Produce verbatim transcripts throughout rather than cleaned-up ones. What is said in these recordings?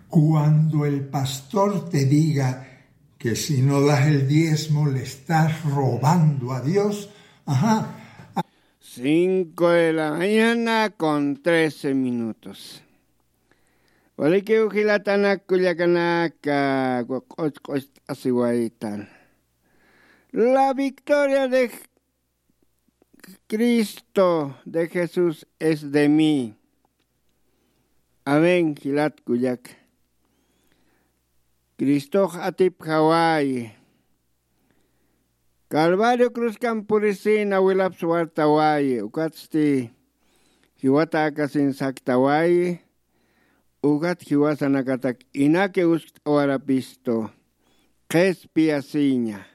Cuando el pastor te diga que si no das el diezmo le estás robando a Dios, ajá. Cinco de la mañana con trece minutos. Walikiw jilatanak kullakanaka, q'uch q'ucht'asiwaytan. La victoria de Cristo, de Jesús es de mí. Amén, jilat kullak. Cristox atipjawayi. Calvario cruzkan purisina wilapsa wartawayi, ukatsti jiwata akasin saktawayi. Ukat jiwasanakatak inaki uskt'awarapistu, qhispiyasiña,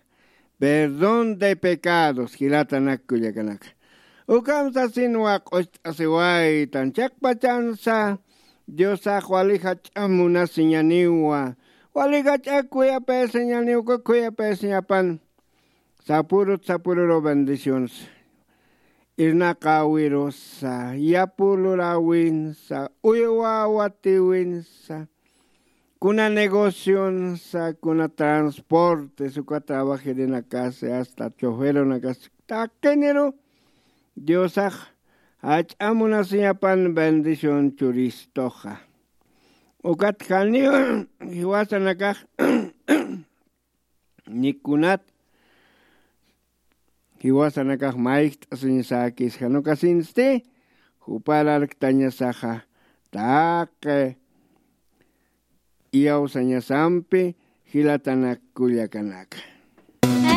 perdón de pecados, jilatanak kullakanaka. Ukham sasinwa q'ucht'asiwaytan, chiqpachansa Diosax wali jach'a munasiñaniwa, wali jach'a kuyapayasiñaniw, uka kuyapayasiñapan. Sapurut sapururu bendiciones. Irnaqawirusa, yapulurawinsa, uywawatiwinsa, kuna negocionsa, kuna transportes, uka trabajirinakasi, hasta choferunakasi, taqiniru Diosax jach'a munasiñapan bendición churistuxa. Ukat janiw jiwasanakax nikunat jiwasanakax mayjt'asiñasäkis, jan ukasinsti jupar arktañasaxa taqi iyawsañasampi, jilatanak kullakanaka.